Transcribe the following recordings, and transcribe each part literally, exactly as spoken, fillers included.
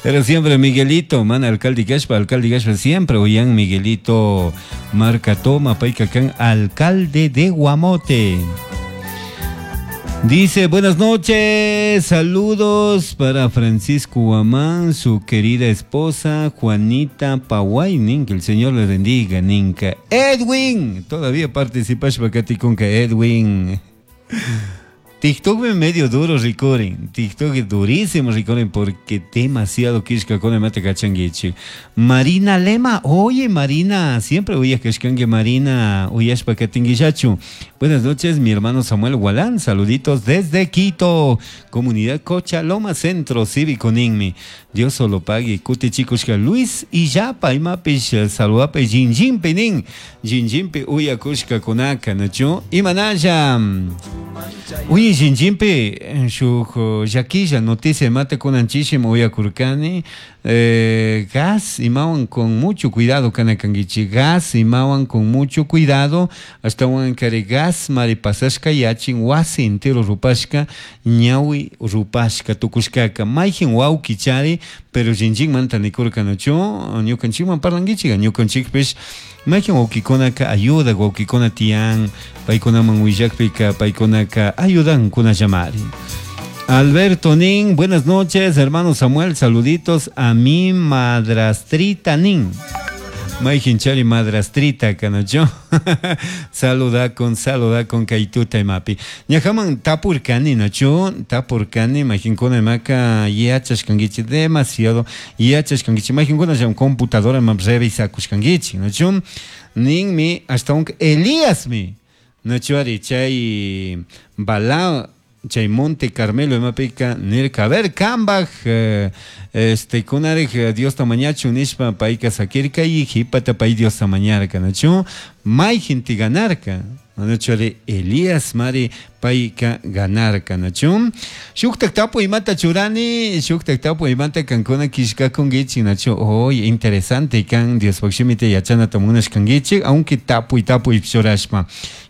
Pero siempre Miguelito, mana alcalde kashpa, alcalde kashpa, siempre uyan Miguelito Marca Toma, payka kan, alcalde de Guamote. Dice, buenas noches, saludos para Francisco Guamán, su querida esposa Juanita Paway, que el Señor le bendiga, Ninka. Edwin, todavía participas con Edwin. TikTok me medio duro rikurin. TikTok es durísimo rikurin porque demasiado kishka con el mate kachanguichi. Marina Lema, oye Marina, siempre oye que Marina, uyashpa katinguillachu. Buenas noches, mi hermano Samuel Gualán, saluditos desde Quito, comunidad Cochaloma Centro Cívico Ninmi. Dios solo pague, kuti chicos Luis y Yapa, imapish saludape jinjimpe nin, jinjimpe uyakushka kunaka, nachu, imanalla. Uy, jinjimpe, shuk llakilla noticia mate kunanchisimo uyakurkani, eh, gas imawan con mucho cuidado kanakankichi, gas imawan con mucho cuidado, hasta kari gas mari pasashka yachin wasi entero rupashka, ñawi rupashka tukushkaka, mayjin wawki chari, pero jinjinmanta nikurka nachu, ñukanchikman parlankichika, ñukanchikpish mayjin wawkikunaka ayuda wawkikuna tiyan, paykunaman willakpika paykunaka ayudan kunallamari. Alberto Nin, buenas noches, hermano Samuel, saluditos a mi madrastrita Nin. Mayjin madrastrita kanacho. Saluda con saluda con kaituta imapi. Ñajaman tapurkani nacho, tapurkani mayjinkuna imaka yachashkankichik demasiado yachashkankichik mayjinkuna llam computadora imam revisakushkankichik nacho. Ninmi hasta un Elíasmi nacho ari chay bala chay Monte Carmelo imapika nirka a ver kambaj eh, este kunarik Diosta mañachu nishpa payka sakirka y jipata pay Diosta mañarka nachu mayjinti ganarka nachu ari Elías mari payka ganarka nachu shuktak tapu imata churani shuktak tapu imata kankuna kishkakunkichik nachu oy interesante kan Diospaj shimita yachanata munashkankichik aunque tapuy tapuy churashpa.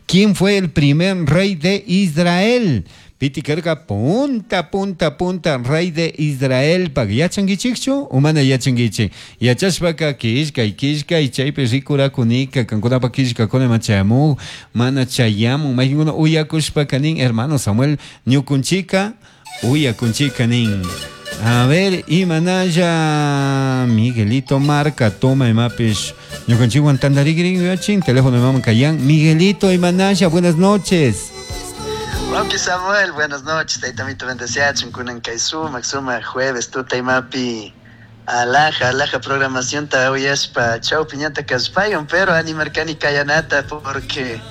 ¿Quién fue el primer rey de Israel? Piti karka punta, punta, punta, rey de Israel. Pag yachankichikchu o mana yachankichik? Yachashpaka kishkay, kishkay, chaypi rikurakunika, kankunapa kishkakuna machayamu, mana chayamun. Mayjinkuna uyakushpaka nin, hermano Samuel, ñukunchika, uyakunchika nin. A ver, imanalla Miguelito Marca, toma imapish. Ñukanchikwan tantarikrin yachin, teléfono imaman kayan. Miguelito imanalla, buenas noches. Wawki Samuel, buenas noches. Taytamito bendeciachun kunan kay sumak sumak jueves tuta imapi alaja alaja programación ta uyashpa chawpi ñata kashpayon, pero animarkani kayanata porque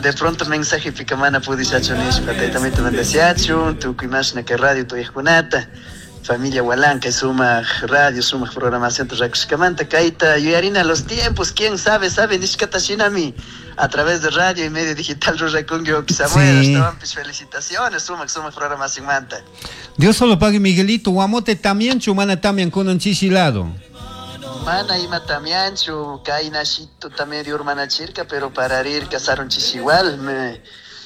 de pronto mensaje pika mana pudishachu nishpa. Taytamito bendeciachun tukuy mashna kay radio tuyajkunata familia Gualán kay sumak radio sumak programación rakushkamanta kayta yuyarina los tiempos, quién sabe sabe nishkata shinami a través de radio y medio digital rurakunki wawki Samuel, Sí. ashtawanpish felicitaciones sumak sumak programación manta. Dios solo pague Miguelito, Guamote también mana también kunan chishi lado. Mana ima tamianchu, kaynashito también urmanachirka, pero para ir casaron igual, me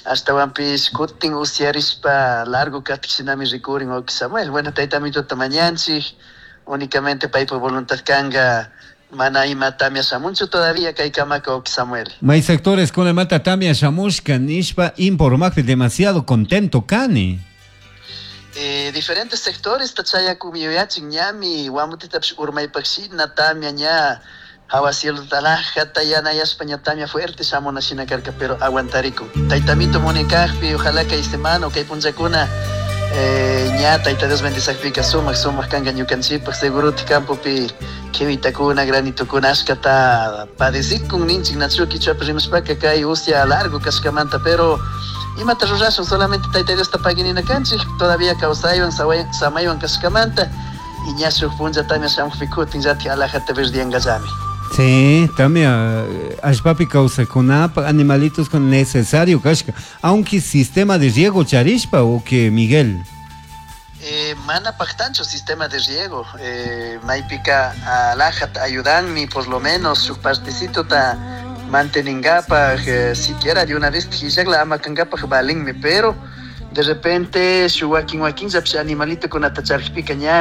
ashtawanpish kutin usyarishpa largo katik shinami rikurin wawki Samuel. Bueno, taytamito tamañanchik, únicamente paypa voluntad kanga, mana ima tamia shamunchu todavía kay kamaka wawki Samuel. May sectores con el mata tamia shamushka nishpa informakpi demasiado contento kani. Eh, diferentes sectores tachayakun yuyachin ñami Guamotetapish urmaypakshina tamia ña hawa cielo talajata yanayashpa ña tamia fuerte shamuna shina karka, pero aguantarikun. Taytamito munikakpi, ojalá kay semana o kay punllakuna, eh, ña Tayta Dios bendizakpika sumak sumak kanka ñukanchikpak seguruti campopi kiwitakuna granitokuna ashkata padecikun ninchik nachu kichwapi rimashpaka kay usya largo kashkamanta, pero imata rurashun solamente Tayta Diosta paginina kanchik todavía kawsaywan samaywan kashkamanta y ña shuk punlla tamia shamukpi kutin llatik alajata verdiangallami. Sí, también allpapi kawsakunapa animalitos con necesario kashka, aunque sistema de riego charishpa o que Miguel. Eh, mana paktanchu sistema de riego, eh, maypika alajata ayudanmi por lo menos shuk partecito ta manteningapaj, eh, siquiera de una vez tijillakla ama kankapaj valinmi, pero de repente shuk wakin wakin llapish animalito kunata charikpika ña